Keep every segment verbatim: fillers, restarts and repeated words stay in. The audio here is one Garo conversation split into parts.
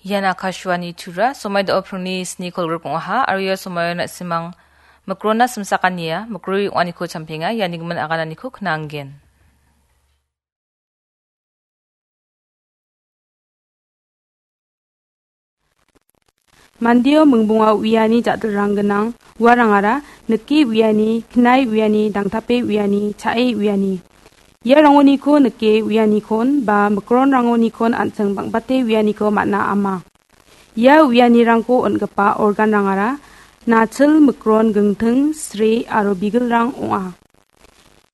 Ian Akashvani Tura, somoi do·o pringni sni kolgrip ong·aha, aro ia somoio na·simang mikronna simsakania, mikroi ong·aniko champenga, iani gimin agananiko knanggen. Mandeo mingbonga uiani ja·dilrang gnang, uarangara nike uiani, knai uiani, dangtape uiani, cha·e uiani. Ia rangoniko nike uianikon ba mikronrangonikon an·ching bang·bate uianiko man·a ama. Ia uianirangko on·gipa organrangara nachil, mikron, gingting, sre aro bigilrang ong·a.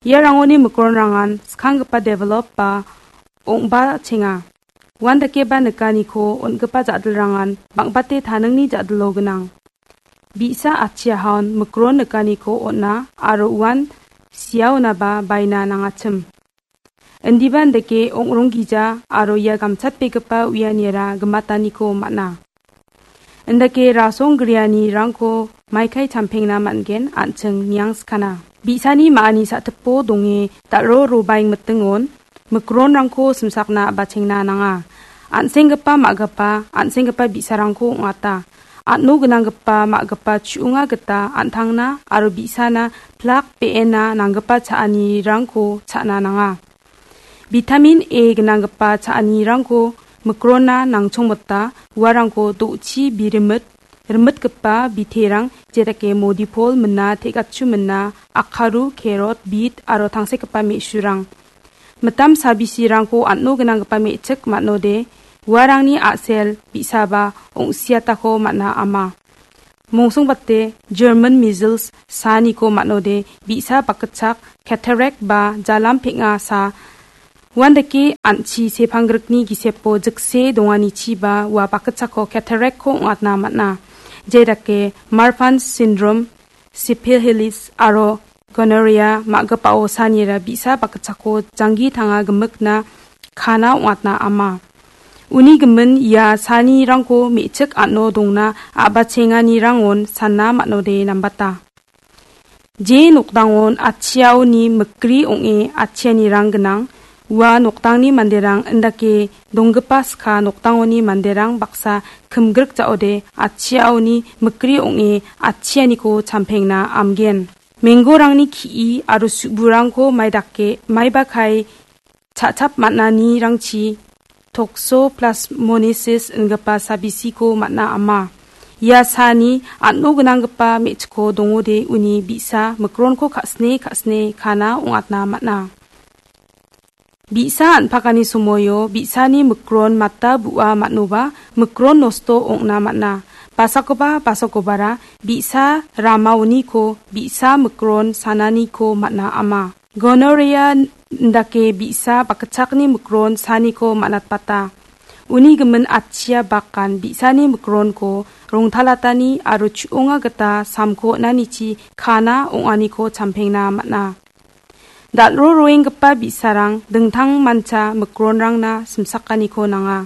Ia rangoni mikronrangan skanggipa develop ba ong·bachenga. Uandakeba nikaniko on·gipa ja·dilrangan bang·bate taningni ja·dilo gnang. Bi·sa atchiahaon mikron nikaniko on·a aro uan siaonaba baina nangachim. Indiba indake ong·ronggija aro ia gamchatbegipa uianira gimataniko man·a. Indake rasong grianirangko maikai champengna man·gen an·ching niangskana. Bi·sani ma·ani sa·tipo donge dal·ro robaing mitingon mikronrangko simsakna a·bachengna nanga. An·senggipa ma·gipa, an·senggipa bi·sarangko ong·ata. An·o gnanggipa ma·gipa chu·onga gita an·tangna aro bi·sana plak be·ena nanggipa cha·anirangko cha·na nanga. Vitamin A gnanggipa cha·anirangko mikronna nangchongmota uarangko do·chi birimit, rimitgipa biterang jedake modipol mina, te·gachu mina, akaru, kerot, bit aro tangsekgipa me·surang. Mitam sabisirangko an·o gnanggipa me·chik man·ode, uarangni a·sel bi·saba ong·siatako man·a ama. Mongsongbate German measles saaniko man·ode bi·sa bakgitchak, cataract ba jalam peng·a saa. Uandake an·chi sepanggrikni gisepo jikse donganichiba ua bakgitchakko cataract-ko ong·atna man·a. Jedake Marfan syndrome, syphilis aro gonorrhea ma·gipao saanira bi·sa bakgitchakko janggi tanga gimikna kana ong·atna ama. Uni gimin ia saanirangko me·chik an·o dongna a·bachenganirangon sana man·ode nambata. Je nokdangon atchiaoni mikri ong·e atchianirang gnang, ua nokdangni manderang indake donggipa ska nokdangoni manderang baksa kimgrik ja·ode atchiaoni mikri ong·e atchianiko champengna amgen. Menggorangni ki·i aro su·burangko maidake, maiba kai cha·chap man·anirangchi toxoplasmosis ingipa sabisiko man·a ama. Ia saani an·o gnanggipa me·chikko dongode uni bi·sa mikronko ka·sine ka·sine kana ong·atna man·a. Bi·sa an·pakani somoio bi·sani mikron mata bu·a man·oba mikron nosto ong·na man·a. Basakoba basakobara bi·sa ramaoniko bi·sa mikron sananiko man·a ama. Gonorrhea indake bi·sa bakgitchakni mikron saaniko man·atbata. Uni gimin atchia bakan bi·sani mikronko rongtalatani aro chu·onga gita samko on·anichi kana ong·aniko champengna man·a. Dal·ro roenggipa bi·sarang dingtang mancha mikronrangna simsakaniko nanga.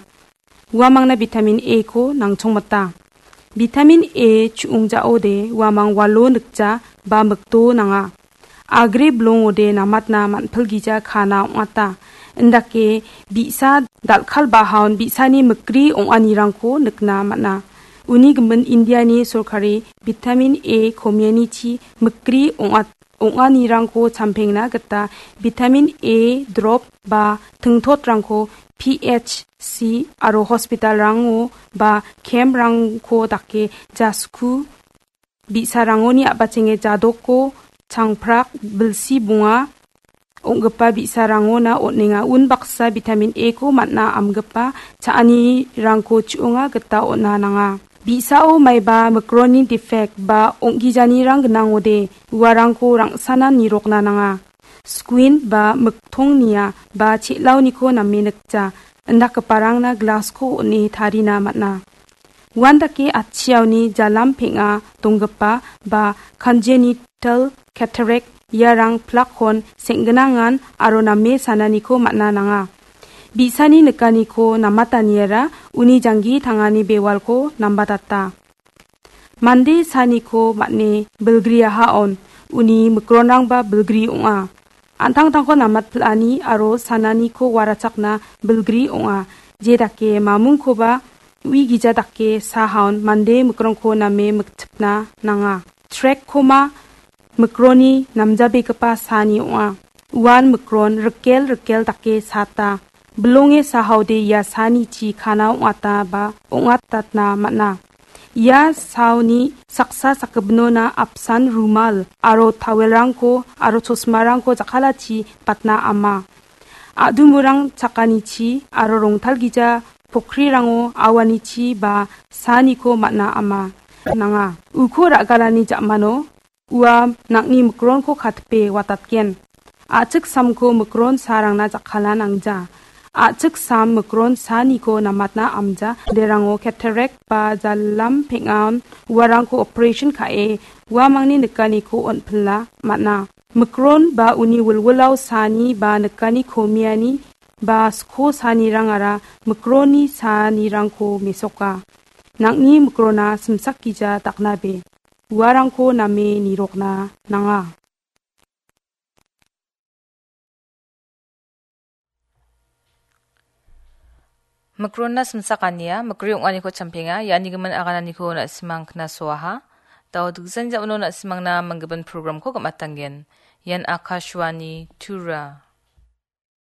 Uamangna vitamin A-ko nangchongmita. Vitamin A chu·ongjaode uamang walo nikja ba mikdo nanga. Agre bilongode namatna man·pilgija kana ong·ata. Indake bi·sa dal·kalbahaon bi·sani mikri ong·anirangko nikna man·a. Uni gimin Indiani sorkari vitamin A komianichi mikri ong·at-, ong·anirangko champengna gita vitamin A drop ba tingtotrangko P H C aro hospitalrango ba camprangko dake jasku bi·sarangoni a·bachenge jadoko changprak bilsi bonga ong·gipa bi·sarangona on·enga. Unbaksa vitamin A-ko man·a amgipa cha·anirangko chu·onga gita on·a nanga. Bi·sao maiba mikronni defect ba ong·gijanirang gnangode uarangko rang·sana nirokna nanga. Squint ba miktongnia ba che·laoniko name nikja, indakgiparangna glass-ko on·e tarina man·a. Uandake atchiaoni jalam peng·a donggipa ba congenital cataract iarang plakkon seng·gnangan aro name sananiko man·a nanga. Bi·sani nikaniko namataniara uni janggi tangani bewalko nambatata. Mande saaniko man·e bilgriahaon uni mikronrangba bilgri ong·a. An·tangtangko namatpil·ani aro sananiko warachakna bilgri ong·a. Jedake mamungkoba ui gija dake sahaon mande mikrongko name miktipna nanga. Trek koma mikroni namjabegipa saani ong·a. Uan mikron rikel rikel dake saata. Bilonge sahaode ia saanichi kana ong·ata ba ong·atatna man·a. Ia saoni saksa sakgipinona apsan rumal aro tawelrangko aro chosmarangko jakkalachi batna ama. A·dumurang chakanichi aro rongtalgija pokrirango awanichi ba saaniko man·a ama nanga. Uko ra·galani ja·mano ua nang·ni mikronko katipe watatgen. A·chik samko mikron saarangna jakkala nangja. A·chik sam mikron saaniko namatna amja. Derango cataract ba jalam peng·an uarangko operation ka·e uamangni nikaniko on·pila man·a. Mikron ba uni wilwilao saani ba nikani komiani ba sko saanirangara mikronni saanirangko mesoka. Nang·ni mikrona simsak gija daknabe. Uarangko name nirokna nanga. Mikronna simsakania, mikri ong·aniko champenga, iani gimin agananiko na·simang knasoaha. Dao diksan ja·mano na·simangna manggimin programko gam·atanggen. Ian Akashvani Tura.